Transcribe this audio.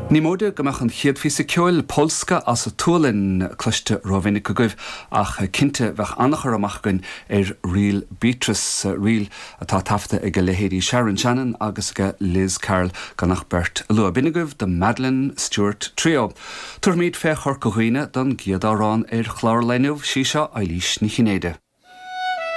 Ní móide go mbeadh an chéad phíosa ceoil, Polska as an tSualainn, cloiste rómhinic agaibh, ach cinnte bheadh an-chur amach againn ar ríl Beatrice, ríl atá taifeadta ag a leithéidí Sharon Shannon agus ag Liz Carroll gan ach beirt a lua. B'in agaibh The Madeline Stuart Trio. Tabharfaimid fé Chorca Dhuibhne don gcéad amhrán ar chlár an lae inniu, sí seo Eilís Ní Chinnéide.